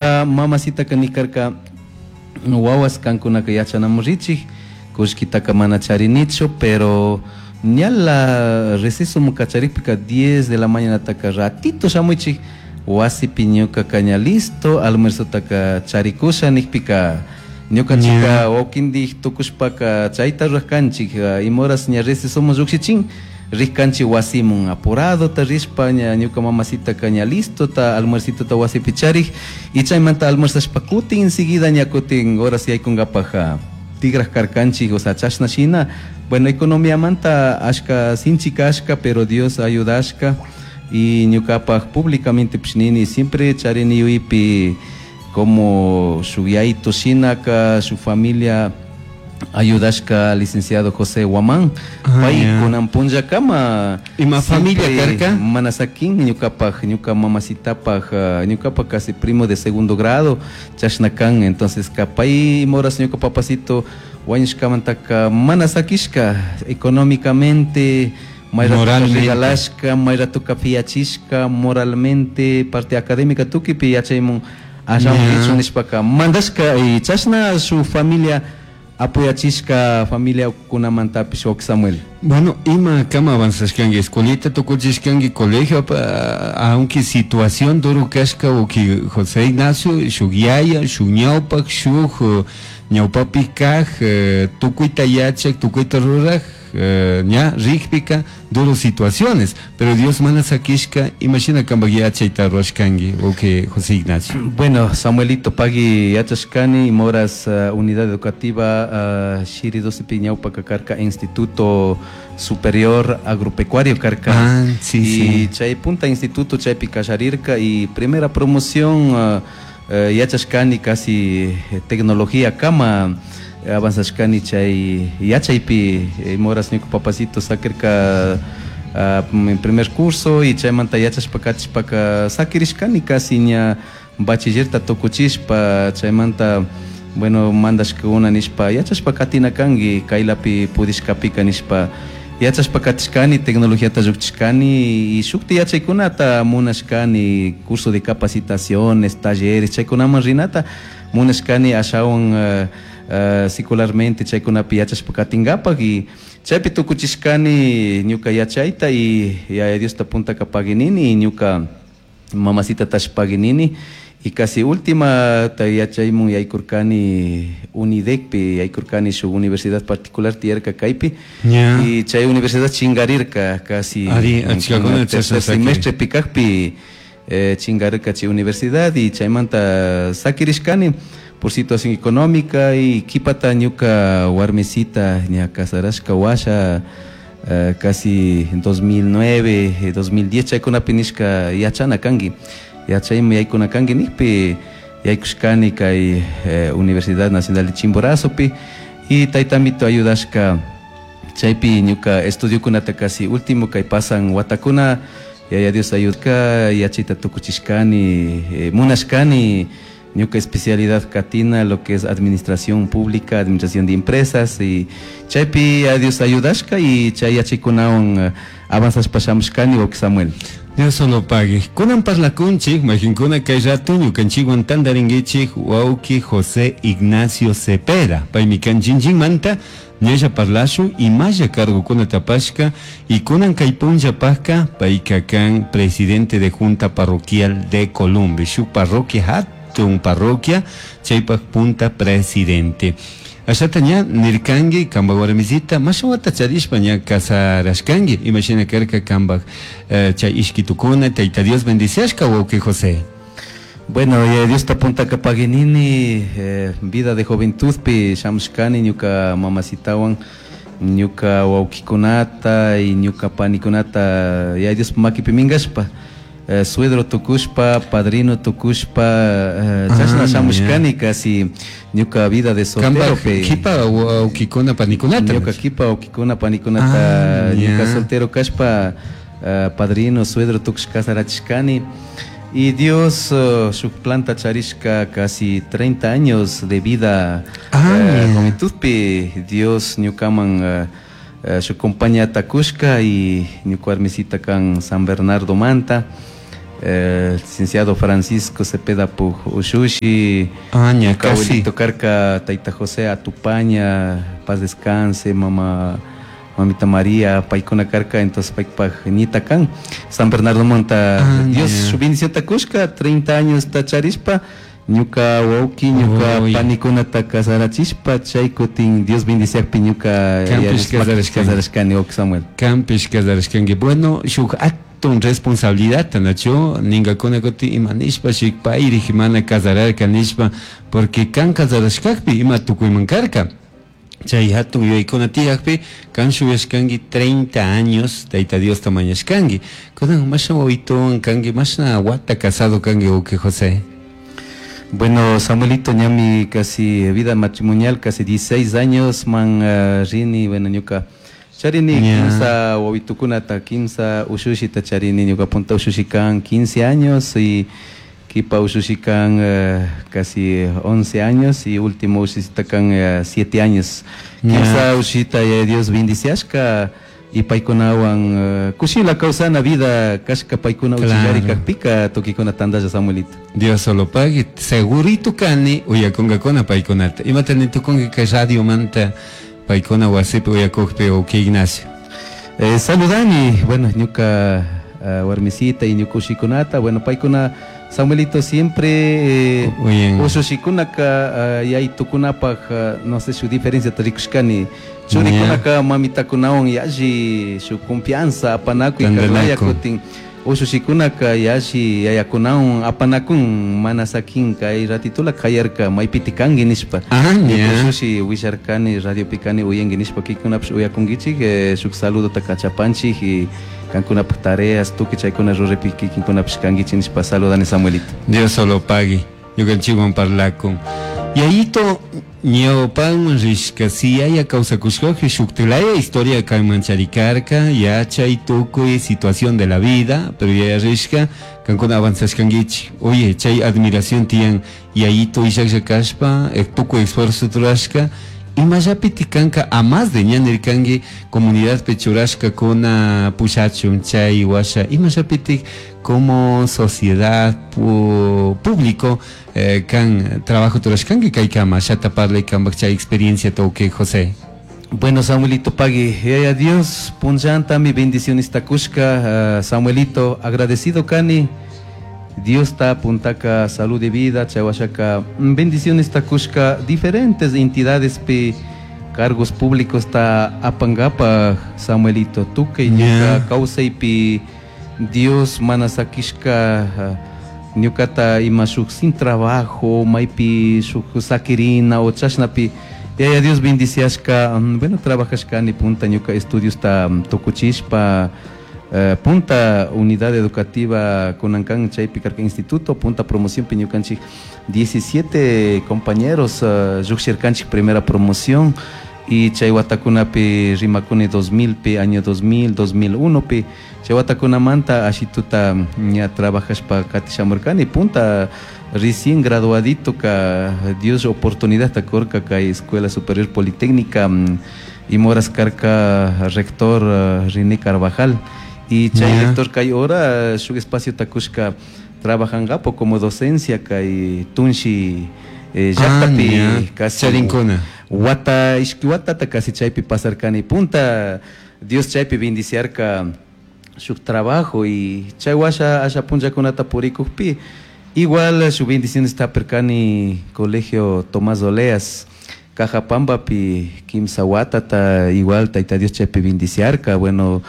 Mamacitaka nikarka: "Wawas, kankunaka yachanamun richik, kullkitaka mana charinichu, pero ñala receso kacharikpika 10 de la mañanataka ratito shamuichik, wasipi ñukaka ña listo almuerzotaka charikusha", nikpika ñukanchika wawkindik tukushpaka chayta rurajkanchik. Ima horas ña recesomun llukshichin, rijkanchik wasimun apuradota rishpa, ña ñuka mamacitaka ña listota almuercitota wasipi charik, y chaymanta almuerzashpa kutin enseguida ña kutin horas yaykunkapak tigraj karkanchik. O sea, chashna shina, bueno, economiamanta ashka sinchi kashka, pero Dios ayudashka. Y ñukapak públicamente nini, siempre charini yuyaypi como shuk yayito shinaka su familia ayudashka, licenciado José Guamán. Pay kunan punllakama Ima familia karka? Mana sakin ñukapak, ñuka mamacitapak, ñukapak casi primo de segundo grado, chashna kan. Entonces ka pay ima horas ñuka papacito wañushkamantaka mana sakishka económicamente, may ratoka Moralmente. regalashka, may ratoka piachishka, moralmente, parte académica, tukuipi yachaymun ashawan richun nishpaka mandashka, y chashna su familia apoyachishka, familia kunamantapish, wawki Samuel. Bueno, ima kama avanzashkanki, escuelita tukuchishkanki, colegio, aunque situación duro kashka, wawki José Ignacio, shuk yaya, shuk ñawpak, shuk ñawpapi kaj, tukuyta yachak, tukuyta ruraj, ña rikpika duro situaciones, pero Dios mana sakishka. Imashina kambak yachayta rurashkanki, wawki José Ignacio? Bueno, Samuelito, pagui yachashkani ima horas unidad educativa Shiri 12 ñawpaka karka Instituto Superior Agropecuario karka. Y chay punta instituto chaypi kallarirka y primera promoción yachashkani, casi tecnología kama avanzashkani chay yachaypi. Ima horas ñuka papacito sakirka en primer curso y chaymanta yachashpa katishpaka sakirishkani casi ña bachillerta tukuchishpa. Chaymanta, bueno, mandashkakuna nishpa yachashpa katina kanki kaylapi pudishkapika nishpa, yachashpa katishkani, tecnologiata llukchishkani y shukti yachaykunata munashkani, curso de capacitaciones, talleres, chaykunaman rinata munashkani ashawan secularmente chaykunapi yachashpa katinkapak, y chaypi tukuchishkani ñuka yachayta. Y Yaya Diosta puntaka paguinini y ñuka mamacitatash paguinini, y casi última ta yachaymun yaykurkani UNIDECpi, yaykurkani shuk universidad particular tiyarka kaypi. Y chay universidad chingarirka casi Ari, achkakuna tercer chashna sakiri. semestre pikakpi chingarirka chay universidad, y chaymanta sakirishkani por situación económica. Y kipata ñuka warmisita ña casarashka washa, casi en 2009, 2010 chaykunapi nishka yachana kanki, yachayman yaykuna kanki nikpi, yaykushkani kay Universidad Nacional de Chimborazopi, y taytamito ayudashka chaypi ñuka estudiokunata casi último kay pasan watakuna, Yaya Dios ayudka, yachayta tukuchishkani. Munashkani ñuka especialidad katina lo que es administración pública, administración de empresas, y chaypi a Dios ayudashka y chay yachaykunawan avanzashpa shamushkani, wawki Samuel. Dios solo pague. Kunan parlakunchik, majinkuna, kay rato ñukanchikwan tantarinkichik wawki José Ignacio Cepeda. Paymi kan manta, ñalla parlashun imalla cargokuna tapashka y kunan kay punllapajka payka kan presidente de junta parroquial de Colombia. Shuk parroquia hatun parroquia, chaypak punta presidente. Ashata ña nirkanki kambak warmisita mashawata charishpa ña casarashkanki, imashina karka kambak chay ishkitukuna, Tayta Dios bendiciashka, wawki José? Bueno, Diosta puntaka paguinini, vida de juventudpi shamushkani ñuka mamacitawan, ñuka wawkikunata y ñuka panikunata ya Dios makipi minkashpa, suegro tukushpa, padrino tukushpa, chashna shamushkani casi ñuka vida de soltero. Kambak kipa wawkikuna panikunata. Ñuka kipa wawkikuna panikunata ñuka soltero kashpa padrino, suegro tukushpa casarachishkani. Y Dios shuk planta charishka casi 30 años de vida juventudpi Dios ñukaman shuk compañía kushka, y ñuka warmisita kan San Bernardo manta. Licenciado Francisco Cepeda puj ushushi. Ah, ña casi. Abuelito karka tayta José Atupaña, paz descanse, mama mamita María, paykuna karka, entonces paypaj ñita kan San Bernardo monta. Ah, Dios ña. su bendición kushka 30 años ta charishpa ñuka wawki, ñuka Uy. panikunata casarachishpa chay kutin Dios bendiciakpi ñuka Kanpish yalishpa casarashkanki. casarashkani, wawki Samuel. Kanpish casarashkanki. Bueno, shuk hatun responsabilidad nachu ningakuna kutin ima nishpa shik payrik mana casararka nishpa, porque kan casarashkakpi ima tukuyman karka. Chay hatun yuyaykuna tiyakpi kan shuyashkanki 30 años Tayta Diosta mañashkanki. Kunan mashna wawituwan kanki, mashna wata casado kanki, wawki José? Bueno, Samuelito, ñami casi vida matrimonial, casi 16 años man, rini, bueno, ñuka charini kimsa wawitukunata, kimsa ushushita charini, ñuka punta ushushi kan 15 años y kipa ushushi kan casi 11 años y último ushushita kan 7 años. Kimsa ushushita ya Dios bendiciashka y paykunawan kushila kawsana vida kashka paykuna uchillari kakpika tukikuna tandalla, Samuelito. Dios solo pague, segurito kani uyakunkakuna paykunata. Imata nitukunki kay radio manta paykuna wasipi uyakukpi, wawki Ignacio? Saludani, bueno, ñuka warmisita y ñuka ushikunata, bueno, paykuna Samuelito siempre Uyan. ushushikunaka yaytukunapaj, no sé su diferencia rikushkani, churikunaka mamitakunawan yalli su confianza apanakuy Tandanakun. karlaya kutin ushushikunaka yalli yayakunawan apanakun mana sakin kay ratitula kayarka maypiti kanki nishpa. Ah, ña. Ushushi willarkani radiopi kani uyanki nishpa, kikunapish uyakunkichik, shuk saludota kachapanchik y kankunapaj tareas tukuy chaykuna ruraypi kikinkunapish kankichik nishpa saludani, Samuelito. Dios solo pague, ñukanchikwan parlakun. Yayito ñawpanman rishka, si yaya kawsakushkakpi shuktilaya historia kanman charikarka, yachay tukuy situación de la vida, pero yaya rishka, kankuna avanzashkankichik. Oye, chay admiración tiyan yayito illaklla kashpa, tukuy esfuerzo rurashka, imallapiti kanka a más de ña nirkanki comunidadpi churashkakuna pushachun chay washa, imallapiti como sociedad público kan trabajo turashkanki kaykama shata parlay kanpak chay experiencia wawki José. Bueno, Samuelito, pagui, yaya Dios punllantami bendiciones takushka, Samuelito, agradecido kani Dios ta puntaka salud de vida, chay washaka bendiciones takushka diferentes entidades pi cargos públicos ta apangapa, Samuelito, tukuy ñuka kawsaypi Dios mana sakishka ñukata ima shuk sin trabajo maypi shuk sakirina o chashnapi yaya Dios bendiciashka, bueno, trabajashkani punta ñuka estudios ta tukuchishpa, punta unidad educativa kunankan chaypi karka instituto punta promoción pi ñukanchik 17 compañeros llukshirkanchik primera promoción y chay watakunapi rimakuni 2000 pi año 2000 2001 pi chay watakunamanta ashituta ña trabajashpa katishamurkani punta recién graduadito ka Dios oportunidad ta kurka kay Escuela Superior Politécnica, y moras karka rector René Carvajal y chay rector kay hora shuk espacio takushka trabajangapo como docencia kay Tunshi llaktapi Ah, ña. casi Charinkuna. wata ishki watata casi chaypi pasarkani punta Dios chaypi bendiciarka shuk trabajo y chay washa asha punllakunata purikukpi igual su bendiciones tapirkani colegio Tomás Oleas Cajapambapi kimsa watata igual Tayta Dios chaypi bendiciarka. Bueno,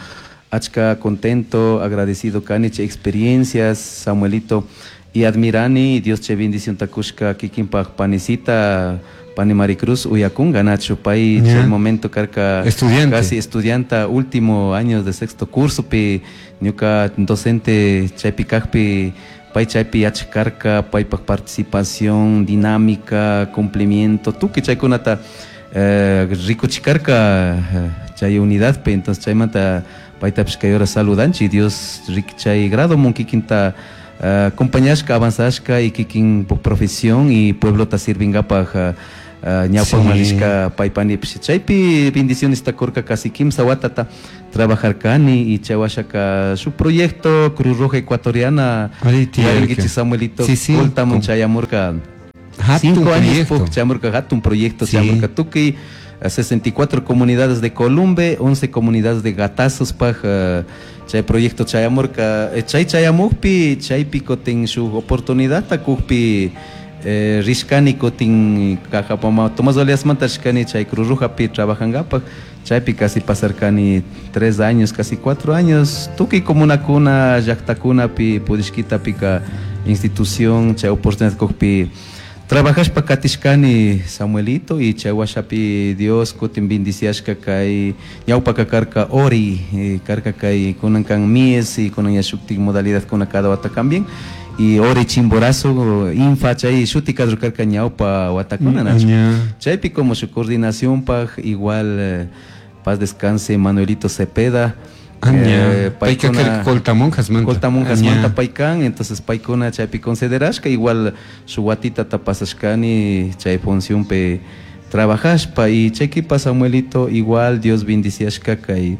achka contento, agradecido kani chay experiencias, Samuelito, y admirani Dios chay bendición takushka kikinpaj panisita pani Maricruz uyakunga nacho pay chay momento karka Estudiante. casi estudianta último año de sexto curso pi ñuka docente chaypi kajpi pay chaypi yachkarka paypaj participación dinámica, cumplimiento, tukuy chaykunata rikuchikarka chay unidad pi. Entonces chaymanta paytapish kay hora saludanchik Dios chay grado mun kikinta acompañashka avanzashka y kikin profesión y pueblota sirvingapaj. Ñawpakman rishka paypanipish chaypi bendicionesta kurka casi kimsa watata trabajarkani y chay washaka shuk proyecto Cruz Roja Ecuatoriana yaringuichik Samuelito Coltamun chayamurka 5 años chayamurka hatun proyecto chayamurka tukuy 64 comunidades de Columbe, 11 comunidades de Gatazospaj chay proyecto chayamurka. Chay chayamukpi chaypi kutin shuk oportunidadta kukpi rishkani kutin Cajapama Tomás Oleasmanta rishkani chay Cruz Rojapi trabajangapak. Chaypi casi pasarkani 3 años, casi 4 años, tukuy comunakuna llaktakunapi purishkitapika institución chay oportunidad kukpi trabajashpa katishkani, Samuelito. Y chay washapi Dios kutin bendiciashka kay ñawpaka karka ORI karka kay kunan kan MIES y kunan ya shuktik modalidad kuna cada wata cambian y ORI Chimborazo Infa chay shuti karka ñawpa watakuna nachu chaypi como su coordinación paj igual paz descanse Manuelito Cepeda. Paykuna Coltamonjasmanta. Coltamonjasmanta paykan, entonces paykuna chaypi considerashka igual su watita pasashkani chay funcionpi trabajashpa. Y chaykipa Samuelito igual Dios bendiciashka kay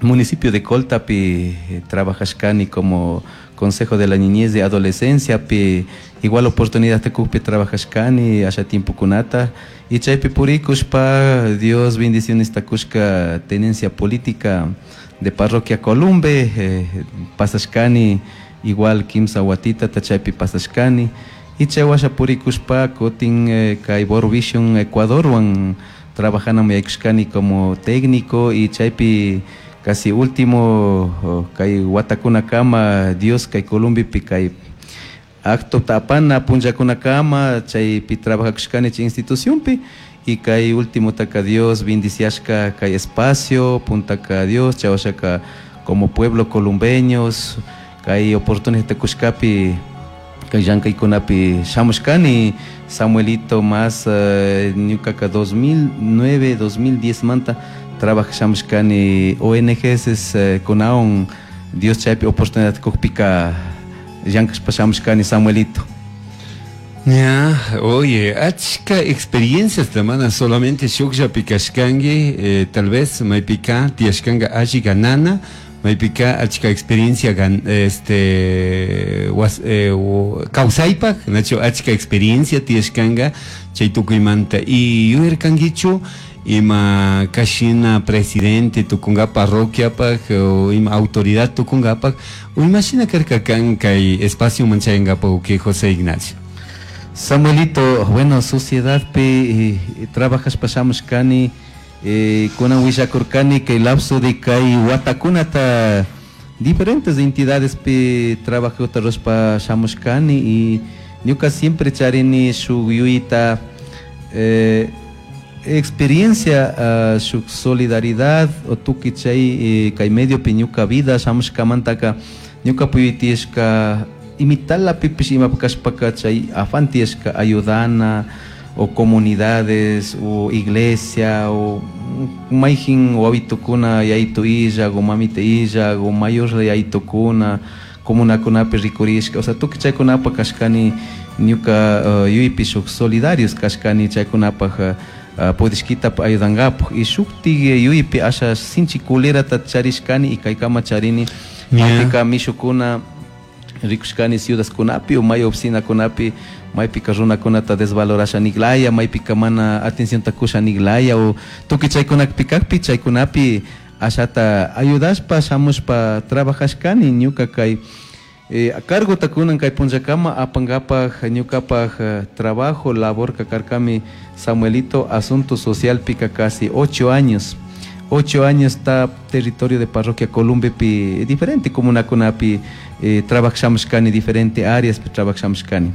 municipio de Coltapi trabajashkani como Consejo de la Niñez de Adolescencia pi igual oportunidad te trabajashkani asha tiempo kunata y chaypi purikushpa Dios bendiciones takushka tenencia política de parroquia Columbe pasashkani igual kimsa watita chaypi pasashkani y chay washa purikushpa kutin kay World Vision Ecuadorwan trabajana yaykushkani como técnico y chaypi casi último kay watakunakama Dios kay Columbipi kay acto tapana punllakunakama chaypi trabajakushkani chay institucionpi y kay último taka Dios bendiciashka kay espacio puntaka Dios chay washaka como pueblo columbeños kay oportunidad kushkapi kay llankaykunapi shamushkani, Samuelito. Más ñukaka 2009 2010 manta trabajashamushkani ONGs kunawan Dios chaypi oportunidad kukpika llankashpa shamushkani, Samuelito. Ya, oye, achka experiencias mana solamente shukllapi kashkanki, tal vez maypika tiyashkanka alli ganana, maypika achka experiencia gan, was, kawsaypaj, nacho achka experiencia tiyashkanka chay tukuymanta. Y yuyarkankichu ima kashina presidente tukunga parroquiapaj o ima autoridad tukunkapaj o imashina karka kan kay espacio manchayankapaj que José Ignacio? Samuelito, bueno, sociedad pi trabajashpa shamushkani kunan willakurkani kay lapso de kay watakunata diferentes entidades pi trabajota rurashpa shamushkani y ñuka siempre charini shuk yuyita experiencia shuk solidaridad o tukuy chay kay medio pi ñuka vida shamushkamantaka ñuka puyutishka imitala pipish imapi kashpaka chay afán tiyashka ayudana o comunidades o iglesia o mayjin wawitukuna yayitu illak o mamita illak o mayorla yayitukuna comunakunapi rikurishka, o sea, tukuy chaykunapaj kashkani ñuka yuypi shuk solidarios kashkani chaykunapaj pudishkita ayudankapaj. Y shuktik yuypi asha sinchi culerata charishkani y kaykama charini maypika mishukuna rikushkani ciudadkunapi o may oficinakunapi maypika runakunata desvalorasha niklaya maypika mana atencionta kusha niklaya o tukuy chaykunapi kakpi chaykunapi ashata ayudashpa shamushpa trabajashkani ñuka kay cargota kunan kay punllakama apankapaj ñukapaj trabajo labor karkami, Samuelito, asunto social pika casi 8 años, 8 años está territorio de parroquia Columbepi diferente comunakunapi trabajashamushkani diferente áreas pi trabajashamushkani.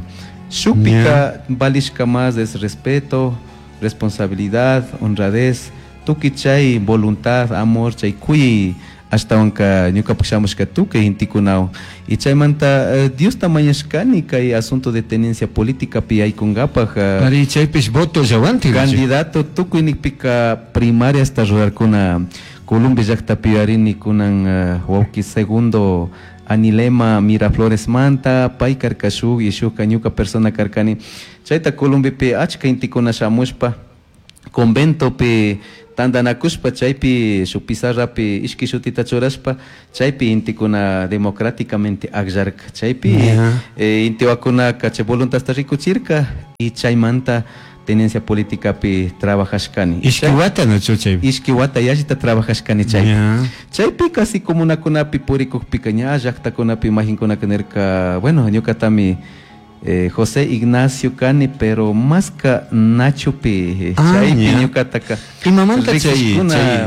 Shukpika valishka más es respeto, responsabilidad, honradez, tukuy chay voluntad, amor, chay kuyay ashtawanka ñukapak shamushka tukuy gentekunawan. Y chaymanta Diosta mañashkani kay asunto de tenencia política pi yaykunkapaj. Ari, chaypish voto llawanti. Candidato tukuy nikpika primariasta rurarkuna Columbia llaktapi yuyarini kunan wawki segundo. Anilema Mirafloresmanta pay karka shuk y shukka ñuka persona karkani. Chayta Columbepi achka intikuna shamushpa conventopi tantanakushpa chaypi shuk pizarrapi ishki shutita churashpa chaypi intikuna democráticamente akllarka. Chaypi intiwakunaka chay voluntadta rikuchirka y chaymanta tenencia politicapi trabajashkani. Ishki wata nachu chaypi? Ishki wata yallita trabajashkani chaypi. Chaypi casi comunakunapi purikukpika ña llaktakunapi imaginkunaka nirka, bueno, ñukatami José Ignacio kani, pero maska Nachopi chaypi ñukataka Imamanta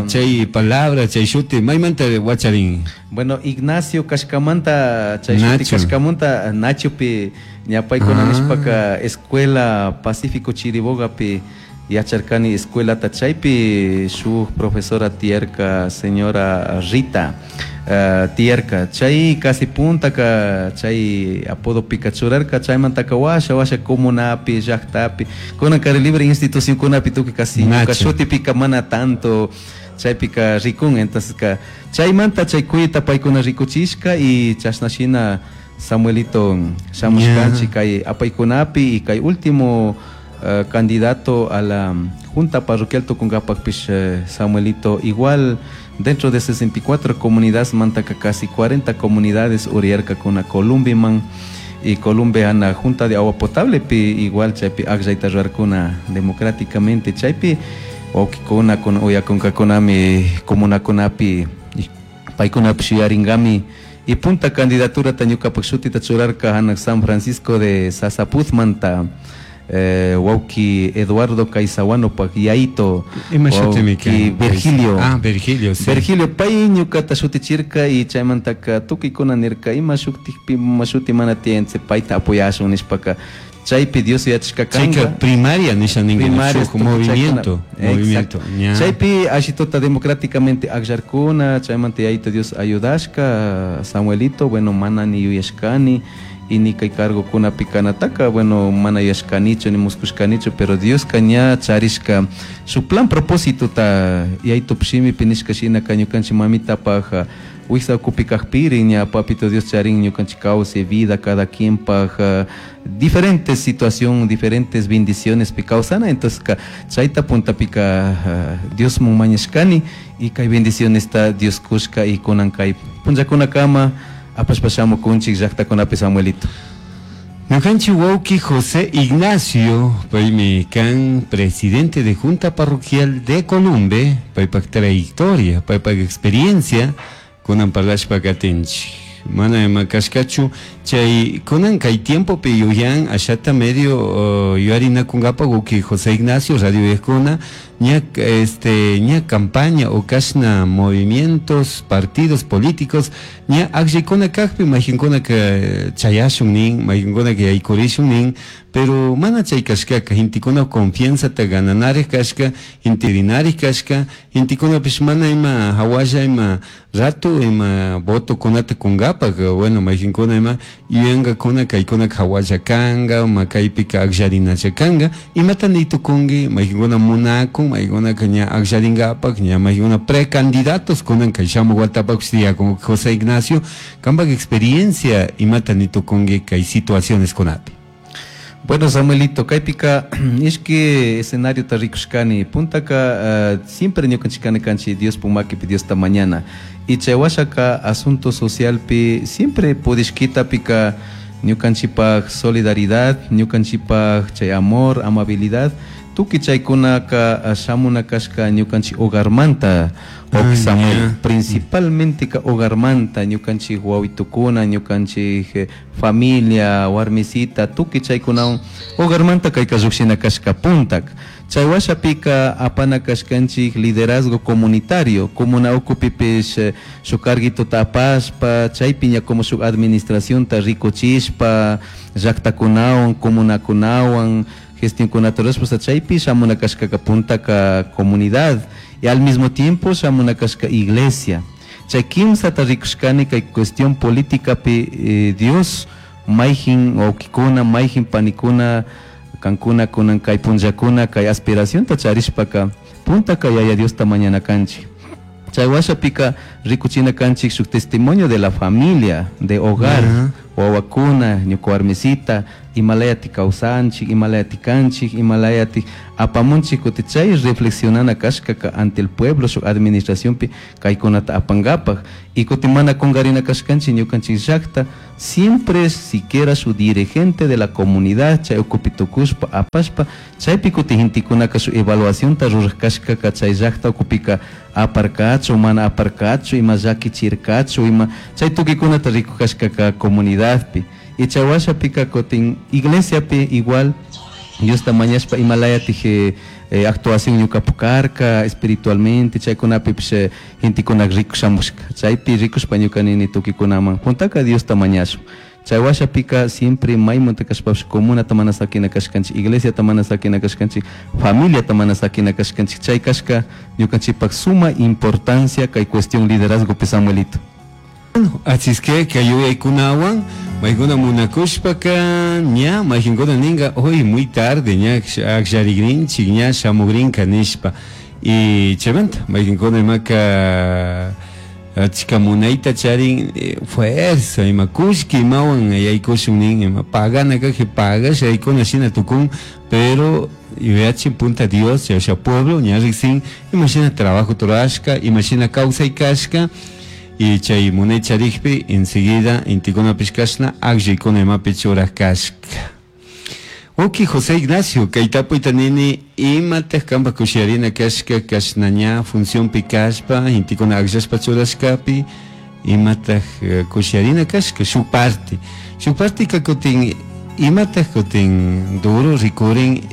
chay palabra, chay shuti, maymanta wacharin? Bueno, Ignacio kashkamanta, chay shuti kashkamanta Nachopi ñapaykuna nishpaka Escuela Pacífico Chiribogapi yacharkani escuelata chaypi shuk profesora tiyarka, señora Rita tiyarka, chay casi puntaka chay apodopika churarka, chaymantaka washa washa comunapi llaktapi kunan Kari Libre institucionkunapi tukuy casi ñuka shutipika mana tanto chaypika rikun. Entonces ka chaymanta chay kuyta paykuna rikuchishka y chashna shina Samuelito shamushkanchik kay apaykunapi y kay último candidato a la Junta Parroquial tukunkapakpish Samuelito igual dentro de 64 comunidades mantaka casi 40 comunidades uriyarkakuna Columbiman y Columbe ana Junta de Agua Potable pi igual chaypi akllayta rurarkuna democráticamente chaypi wawkikuna kun uyakunkakunami comunakunapi paykunapish yuyarinkami y punta candidaturata ñukapak shutita churarka hanak San Francisco de Sasapuzmanta wawki Eduardo Caizahuanopak yaito, Ima shutimi wawki kan? Virgilio. Ah, Virgilio, sí. Virgilio pay ñukata shutichirka y chaymantaka tukuykuna nirka ima shuktikpi ima shuti mana tiyan payta apoyashun nishpaka chaypi Dios yachashka Chayka kanka. primaria nisha ninka, Primaria shuk tukuy movimiento, chaykuna. movimiento, Exacto. ña. Chaypi ashitota democráticamente akllarkuna, chaymanta yayito Dios ayudashka, Samuelito, bueno, mana ni yuyashkani, y ni kay cargo pikanataka, bueno, mana yuyashkanichu ni muskushkanichu, pero Dios ña charishka su plan propósito ta yayito shimipi nishka shina ka ñukanchik mamitapaj wiksa ukupi kajpiri ña papito Dios charin ñukanchik kawsay vida cada quien paj diferentes situación, diferentes bendiciones pi kawsana, entonces ka chayta puntapika Dios mun mañashkani y kay bendiciones ta Dios kushka y kunan kay punllakunakama apashpa shamukunchik llaktakunapi Samuelito. Ñukanchik wawki José Ignacio, paymi kan presidente de Junta Parroquial de Columbe, paypak trayectoria, paypak experiencia, kunan parlashpa katinchik. Mana ima kashkachu, chay kunan kay tiempopi yuyan ashata medio yuyarinakunkapa wawki José Ignacio radio viejkuna, ña, este, ña campaña o kashna movimientos, partidos políticos, ña akllaykuna kakpi mayqinkuna ka chayashun nin, mayqinkuna ka yaykurishun nin, pero mana chay kashkaka, gentekuna confianzata gananarik kashka, genterinarik kashka, gentekunapish mana ima hawalla ima rato ima votokunata kunkapak, bueno, mayqinkuna ima yuyankakuna kaykunaka hawalla kanka, ma kaypika akllarinacha kanka, imata nitukunki, mayqinkuna munakun, mayqinkunaka ña akllarinkapak, ña mayqinkuna precandidatos kunan kay shamuk watapakpish tiyakun. José Ignacio, kampak experiencia imata nitukunki kay situaciones kunapi. Bueno, Samuelito, kaypika ishki escenario ta rikushkani, puntaka siempre ñukanchikani kanchi Dios pumakipi Diosta mañana. Y chay washaka asunto socialpi siempre pudishkitapika ñukanchipaj solidaridad, ñukanchipaj chay amor, amabilidad, tukuy chaykunaka shamuna kashka ñukanchik hogarmanta, Ah, Samuel, ya. principalmente ka hogarmanta, ñukanchik wawitukuna, ñukanchik familia, warmisita, tukuy chaykunawan hogarmanta kayka lluqshina kashka puntak. Chay washapika apana kashkanchik liderazgo comunitario, comuna ukupipish shuk carguitota apashpa, chaypi ña como shuk administracionta rikuchishpa, llaktakunawan, comunakunawan, gestionkunata rurashpa, chaypi shamuna kashkaka puntaka comunidad y al mismo tiempo shamuna kashka iglesia. Chay kimsata rikushkani kay cuestión políticapi Dios mayjin wawkikuna, mayjin panikuna, kankuna kunan kay punllakuna kay aspiracionta charishpaka puntaka Yaya Diosta mañana kanchik. Chay washapika rikuchina kanchik shuk testimonio de la familia, de hogar, wawakuna, ñuka warmisita, imalayati kawsanchik, imalayati kanchik, imalayati apamunchik kuti chay reflexionana kashkaka ante el pueblo shuk administracionpi kaykunata apankapaj. Y kuti mana kunkarina kashkanchik ñukanchik llakta siempre siquiera su dirigente de la comunidad chay ukupi tukushpa apashpa chaypi kuti gentekunaka su evaluacionta ruraj kashkaka chay llakta ukupika aparkachu mana aparkachu ima llakichirkachu ima chay tukuykunata rikuj kashkaka comunidadpi. Y chay washapika kutin iglesiapi igual Diosta mañashpa imalayatij actuación ñukapu karka espiritualmente chaykunapipish gentekuna rikushamushka chaypi rikushpa ñuka nini tukuykunaman puntaka Diosta mañashun. Chay washapika siempre maymunta kashpapish comunata mana sakina kashkanchik, iglesiata mana sakina kashkanchik, familiata mana sakina kashkanchik. Chay kashka ñukanchikpak suma importancia kay cuestión liderazgopi, Samuelito. Así es que kay yuyaykunawan maykuna munakushpaka ña mayqinkuna ninka hoy muy tarde ña akllarikrinchik ña shamukrinka nishpa y chaymanta mayqinkuna imaka achka munayta charin fuerza ima kullki imawan yaykushun nin ima pagana kajpi pagasha yaykuna shina tukun, pero yuyachin punta Dios chayasha pueblo ña riksin imashina trabajo rurashka imashina kawsay kashka y chay munay charikpi enseguida intikunapish kashna akllaykuna imapi churaj kashka. Uki José Ignacio, kay tapuyta nini imataq kanpak kushiyarina kashka kashna ña funcionpi kashpa intikuna akllashpa churashkapi imataq kushiyarina kashka shuk parte. Shuk partika kutin imataq kutin duro rikurin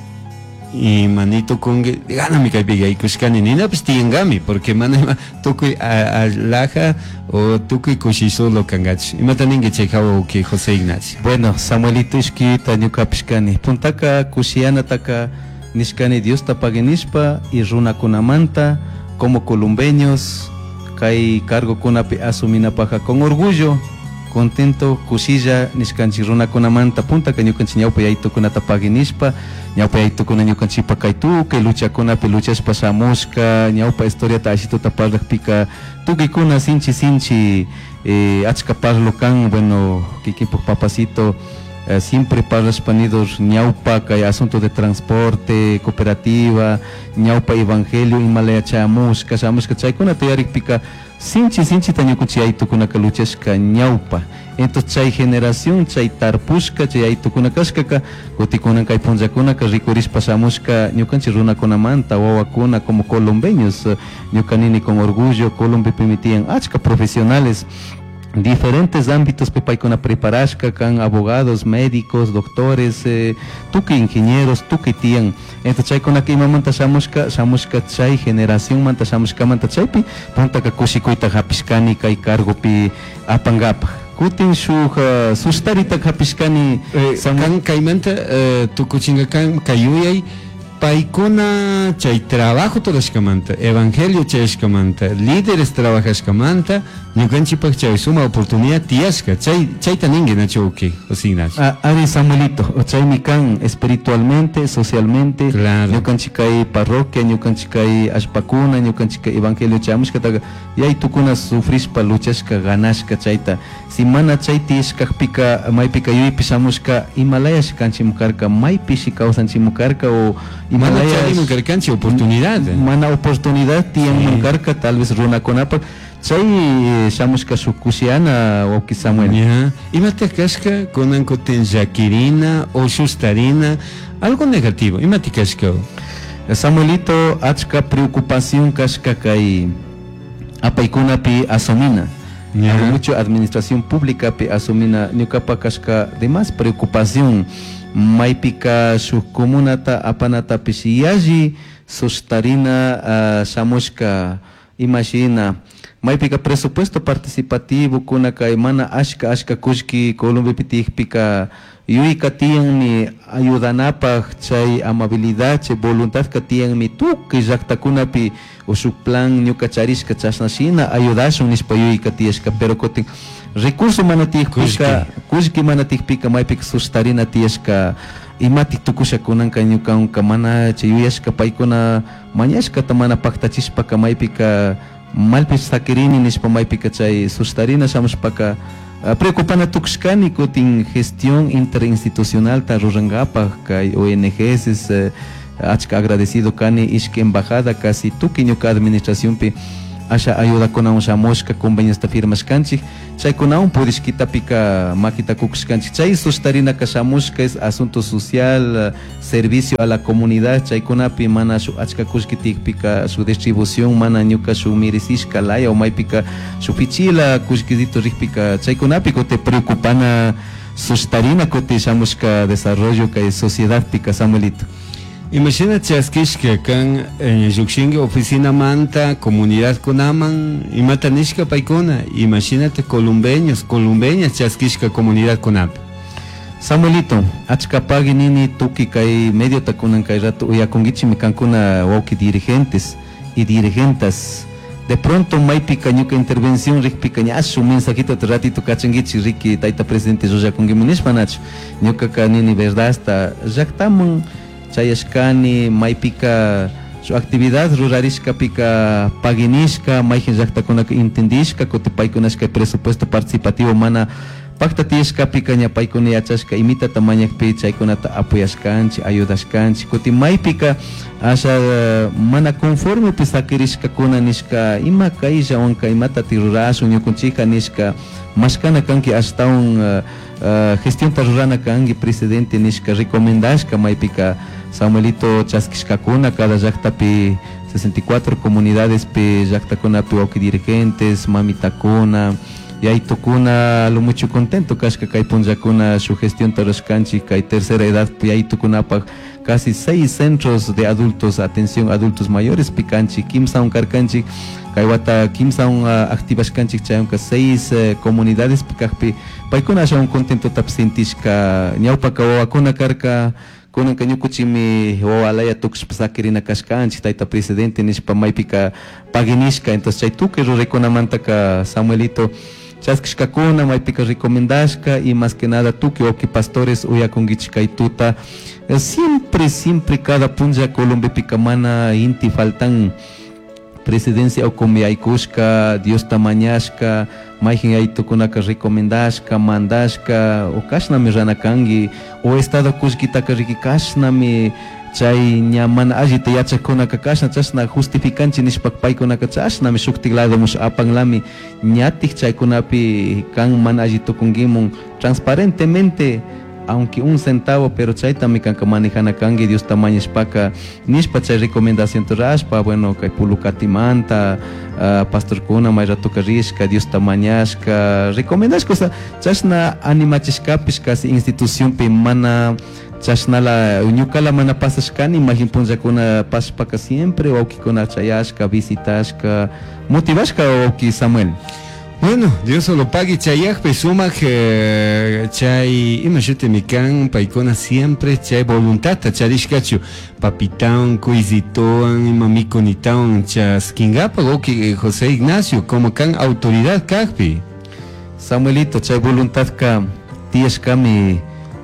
ima tukunki ganami kaypi yaykushkani ninapish tiyankami porque mana ima tukuy alaja o tukuy kushi solo kankachu. Imata ninki chay hawa uki José Ignacio? Bueno, Samuelito ishkita ñukapish kani. Puntaka kushiyanataka nishkani Diosta paguinishpa y runakunamanta como columbeños kay cargokunapi asuminapaja con orgullo, contento, kushilla nishkanchik runakunamanta puntaka ñukanchik ñawpa yaytukunata paguinishpa ñawpa yaytukuna ñukanchikpa kay tukuy luchakunapi luchashpa shamushka ñawpa historiata ashituta parlakpika tukuykuna sinchi sinchi achka parlo kan, bueno, kikinpuk papacito siempre parlashpa nidur ñawpa kay asunto de transporte, cooperativa, ñawpa evangelio imalaya chamushka shamushka chaykunata yarikpika sinchi sinchita ñukanchik yaytukunaka luchashka ñawpa. Entonces chay generación, chay tarpushka, chay yaytukuna kashkaka, kutikunan kay punllakunaka rikurishpa shamushka ñukanchik runakunamanta wawakuna como colombeños, ñuka nini con orgullo Colombepimi tiyan achka profesionales diferentes ámbitos paykuna preparashka kan abogados, médicos, doctores, tukuy ingenieros, tukuy tiyan. Entonces chaykunaka imamanta shamushka, shamushka chay generación manta shamushkamanta chaypi puntaka kushikuyta hapishkani kay cargopi apankapaj. Kutin shuk sustarita hapishkani. Kan kaymanta tukuchinka kan kay yuyay paykuna chay trabajo rurashkamanta, evangelio chayashkamanta, líderes trabajashkamanta, ñukanchikpak chay suma oportunidad tiyashka, chay chayta ninki nachu uki, José Ignacio. Ari Samuelito, chaymi kan espiritualmente, socialmente, Claro. ñukanchik kay parroquia, ñukanchik kay allpakuna, ñukanchik kay evangelio chayamushkataqa yaytukuna sufrishpa luchashka ganashka chayta. Si mana chay tiyashkakpika maypika yuyaypi shamushka imalayash kanchimukarka, maypishi kawsanchimukarka o Mana imalayash charimun karkanchik oportunidad. Mana oportunidad tiyanman Sí. karka tal vez runakunapak chay shamushka shuk kushiana wawki Samuel. Ya. Imataq kashka kunan kutin llakirina o sustarina algo negativo, imataq kashka? Samuelito, achka preocupación kashka kay apaykunapi asumina. Ya. Hago mucho administración pública pi asumina ñukapa kashka de más preocupación maypika shuk comunata apanatapish yalli sustarina shamushka imashina maypika presupuesto participativo kuna kay mana ashka ashka kullki Colombiapi tiyakpika yuyka tiyanmi ayudanapaj chay amabilidad chay voluntad ka tiyanmi tukuy llaktakunapi o shuk plan ñuka charishka chashna shina ayudashun nishpa yuyka tiyashka, pero kutin recurso mana tiyakpika kullki mana tiyakpika maypika sustarina tiyashka imatik tukusha kunanka ñukanka mana chay yuyashka paykuna mañashkata mana paktachishpaka maypika Malpish saquirini nishpa maypika chay sustarina shamushpaka preocupana tukushkani kutin gestión interinstitucionalta rurankapak kay ONGs achka agradecido kani ishki embajada casi tukuy ñuka administracionpi asha ayudakunawan shamushka conveniosta firmashkanchik chaykunawan pudishkitapika makita kukushkanchik chay sustarinaka shamushka es asunto social, servicio a la comunidad chaykunapi mana shuk achka kullki tiyakpika shuk distribución mana ñuka shuk merecishka laya o maypika shuk pichila kullkisito rikpika chaykunapi kutin preocupana sustarina kutin shamushka desarrollo kay sociedadpika Samuelito. Imashina chaskishka kan llukshinki oficinamanta comunidadkunaman imata nishka paykuna imashinata columbeños columbeñas chaskishka comunidadkunapi. Samuelito, achka pagui nini tukuy kay mediota kunan kay rato uyakunkichikmi kankuna wawki dirigentes y dirigentas. De pronto maypika ñuka intervención rikpika ña shuk mensajitota ratito kachankichik riki tayta presidente llullakunkiman nishpa nachu. Ñukaka nini verdadsta llaktaman chayashkani maypika shuk actividad rurarishkapika paguinishka mayjin llaktakunaka entendishka kutin paykunashka presupuesto participativo mana pakta tiyashkapika ña paykuna yachashka imitata mañakpi chaykunata apoyashkanchik ayudashkanchik kutin maypika asha mana conformepi sakirishkakuna nishka ima kayllawanka imatatik rurashun ñukunchikka nishka mashkana kanki ashtawan gestionta rurana kanki presidente nishka recomendashka maypika Samuelito chaskishkakuna cada llaktapi 64 comunidadespi llaktakunapi wawki dirigentes mamitakuna yaytukuna lo mucho contento kashka kay punllakuna shuk gestionta rurashkanchik kay tercera edad yaytukunapaj casi 6 centros de adultos atención adultos mayores pikanchik kimsawan karkanchik kay wata kimsawan activashkanchik chaywanka 6 comunidades pikakpi paykuna ashawan contentotapish sentishka ñawpaka wawakuna karka kunanka ñukuchikmi wawalaya tukushpa sakirina kashkanchik tayta presidente nishpa maypika paguinishka entonces chay tukuy ruraykunamantaka Samuelito chaskishkakuna maypika recomendashka y más que nada tukuy wawki pastores uyakunkichik kay tuta siempre siempre cada punlla Colombepika mana inti faltan presidencia ukumi yaykushka Diosta mañashka mayjin yaytukunaka recomendashka mandashka o kashnami rana kanki o estado kullkitaka riki kashnami chay ña mana allita yachakkunaka kashna chashna justificanchik nishpa paykunaka chashnami shuktik ladomush apanlami ñatik chaykunapi kan mana alli tukunkimun transparentemente aunque un centavo pero chaytami kanka manejana kanki Diosta mañashpaka nishpa chay recomendación rashpa bueno kay Pulucatimanta pastorkuna may ratoka rishka Diosta mañashka recomendashka osea chashna animachishkapish casi institucionpi mana chashnala ñukala mana pasashkani majin punllakuna pasashpaka siempre wawkikuna chayashka visitashka motivashka wawki Samuel. Bueno, Dios lo pague chayakpi sumak chay ima shutimi kan paykuna siempre chay voluntadta charishkachu papitawan kuysitawan ima mikunitawan chaskinkapak wawki José Ignacio como kan autoridad kakpi. Samuelito chay voluntadka tiyashkami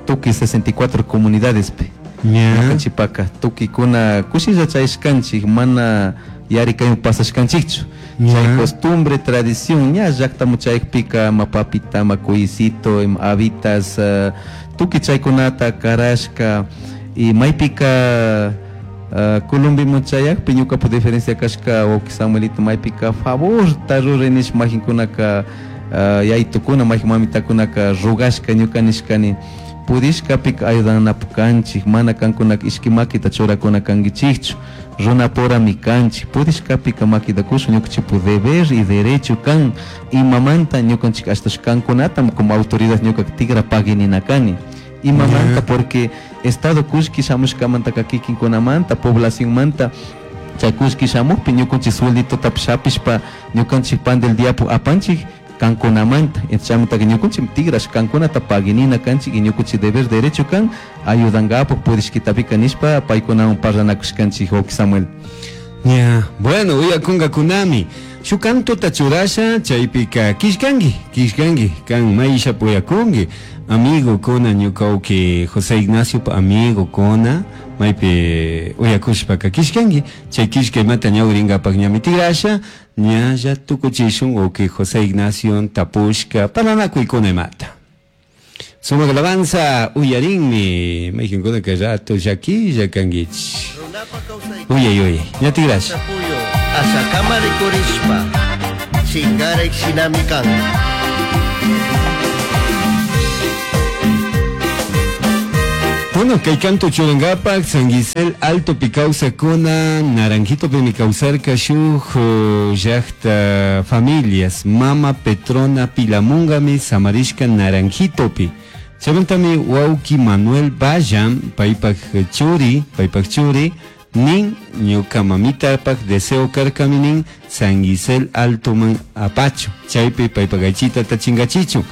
tukuy 64 comunidadespi. Ñukanchikpaka tukuykuna kushilla chayashkanchik mana yarikaywan pasashkanchikchu. Chay costumbre, tradición ña llaktamu chayakpika ima papita, ima kuyisito, ima habitas tukuy chaykunata karashka y maypika Colombiaman chayakpi ñukapak diferencia kashka wawki Samuelito maypika favorta ruray nishpa majinkunaka yaytukuna mayjin mamitakunaka rugashka ñuka nishkani pudishkapika ayudanapak kanchik mana kankunaka ishki makita churakuna kankichikchu runapurami kanchik pudishkapika makita kushun ñukanchikpak deber y derecho kan imamanta ñukanchik ashtash kankunatam como autoridad ñukaka tigra paguinina kani imamanta porque estado kullki shamushkamantaka kikinkunamanta poblacionmanta chay kullki shamukpi ñukanchik suelditotapish hapishpa ñukanchik pan del diapu apanchik kankunamanta chaymantaka ñukanchik tigrash kankunata paguinina kanchik y ñukanchik deber derecho kan ayudankapak pudishkitapika nishpa paykunawan parlanakushkanchik wawki Samuel. Ya, bueno, uyakunkakunami shuk cantota churasha chaypika kishkanki kishkanki kan maysha puyakunki amigo kuna ñuka wawki José Ignacio amigo kuna Maypi uyakushpaka kishkanki chay kishkaymanta ñawrinkapak ñami tigrasha ñalla tukuchishun wawki José Ignacio tapushka parlanakuykuna imata. Sumak alabanza uyarinmi mayqinkuna kay rato llakilla kankichik. Uyay uyay ña tigrasha. Ashakama rikurishpa chingarik shinami kan. Bueno, kay canto churankapak San Gisel Alto pi kawsakuna Naranjito pimi kawsarka shuk llakta familias Mama Petrona Pilamungami samarishka Naranjitopi. Chaymantami wawki Manuel Valla paypak churi, paypak churi nin ñuka mamitapak deseo karkami nin San Gisel Altoman apachu chaypi paypak aychitata chinkachichun.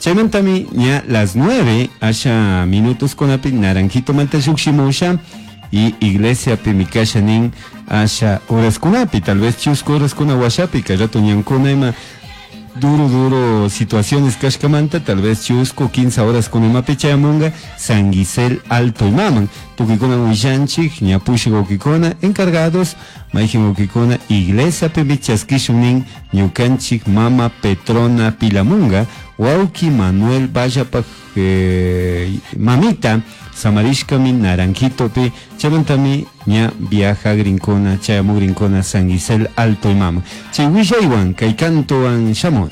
Chaymantami ña las 9 asha minutos kunapi Naranjito manta llukshimusha y iglesia mikasha nin asha horas kunapi tal vez chusku horas kuna washapi kay rato ñankuna ima duro duro situaciones kashkamanta tal vez chusku 15 horas kuna imapi chayamunga San Gisel Alto imaman tukuykuna willanchik ñapushik wawkikuna encargados mayjin wawkikuna iglesia pimi chaskishun nin ñukanchik mama Petrona Pilamunga wawki Manuel Vallapak mamita samarishkami Naranjitopi chaymantami ña viajagrinkuna chayamugrinkuna San Gisel Alto imama chay willaywan kay cantowan shamuni.